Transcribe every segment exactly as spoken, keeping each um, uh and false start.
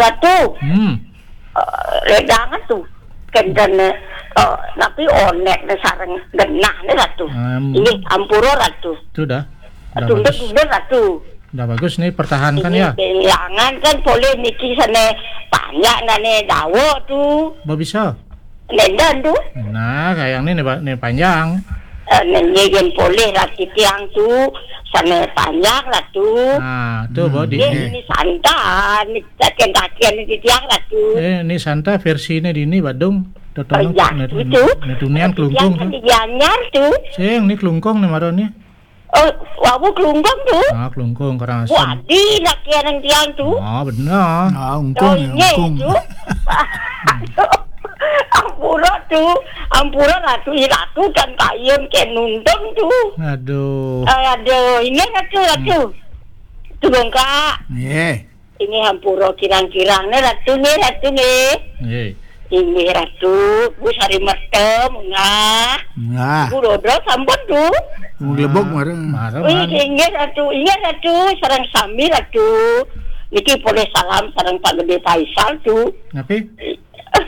Ratu. Hmm. Eh, ledangan tu. Kenten, eh, tapi onek ne sareng genah ne, Ratu. Em. Inggih, ampura, Ratu. Sudah. Sudah bagus. Ratu. Sudah bagus nih, pertahankan. Ini ya. Jangan kan polih niki sane panjang nane dawa tu. Mbok bisa? Nenden tu. Nah, kayang ini, Pak, ini panjang. Eh, niki yen polih lah titiang tu, sane panjang, Ratu. Nah, tu, hmm, Mbok di. Ini santan, kaken-kaken titiang, Ratu. Eh, ini santai versi ini di ini, Badung. Totong. Oh, iya, ne-, itu. Ne tunian kelungkung tu. Titiang di Gianyar tu. Sing, ini kelungkung nih, marane. Oh, wau kelungkung tu. Ah, kelungkung, Karangasem. Wadi, nak kian tiang tu. Ah, benar. Ah, ungkung, oh, ya, iya, ungkung. Tu. Aduh. Ampura tu, ampura Ratu, i Ratu kan kayun ke nuntung tu. Aduh. Eh, aduh, ini Ratu, Ratu. Hmm. Tu bongkak. Iya. Inggih ampura kirang-kirang ne Ratu ne, Ratu ne. Nggih. Inggih Ratu, Bu Sari Merta, munggah. Munggah. Bu Dodro sampun tu. Wong Lebok mareng. Mareng, wih, mareng. Inggih Ratu, inggih Ratu, sareng sami Ratu. Niki polih salam sareng Pak Gede Faisal tu. Napi?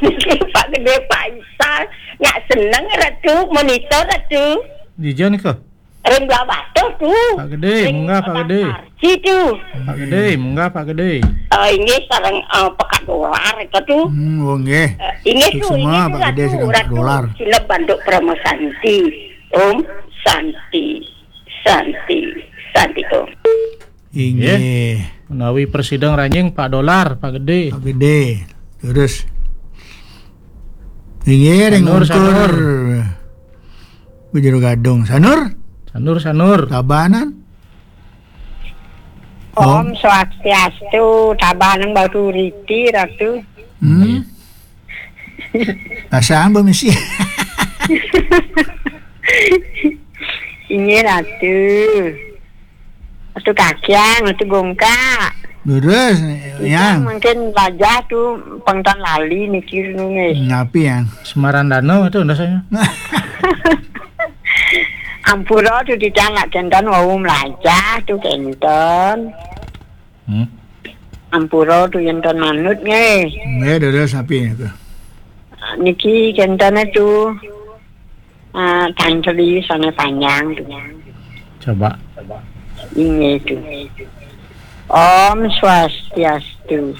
Niki Pak Gede Faisal, nyak seneng Ratu, monitor Ratu. Dija nika? Ring Blahbatuh tu. Pak Gede, ring munggah, Pak Gede. Situ. Pak Gede, munggah, Pak Gede. Eh, inggih sareng, eh, Pekat Dolar itu tu. Hmm, oh, nggih. Eh, inggih tu, semua, inggih tu, Pak Gede Ratu, sareng Pekat Dolar. Sineb Banduk Parama Santi. Om Santi, Santi, Santi Om. Inggih. Nggih. Menawi prasida ngranjing Pak Dolar, Pak Gede. Pak Gede. Terus. Inggih, ring Sanur, Ungkur. Sanur. Bujur Gadung. Sanur? Sanur, Sanur. Tabanan. Om. Om Swastiastu, Tabanan Batu Riti, Ratu. Hmm. Nggih. Rasa ambo misi. Inggih, Ratu. Ratu Kakiang, Ratu Gongkak. Leres, Yang. Mungkin wajah tu pengtan lali mikir nu nggih. Napi, Yang? Semarandana tu rasanya. Ampura tu titiang nak kenten wau melajah tu kenten. Hmm. Ampura tu yen ton manut nggih. Nggih, leres napi tu? Niki kenten tu. Ah, tangkeli sane panjang tu. Coba. Inggih tu. Om Swastiastu.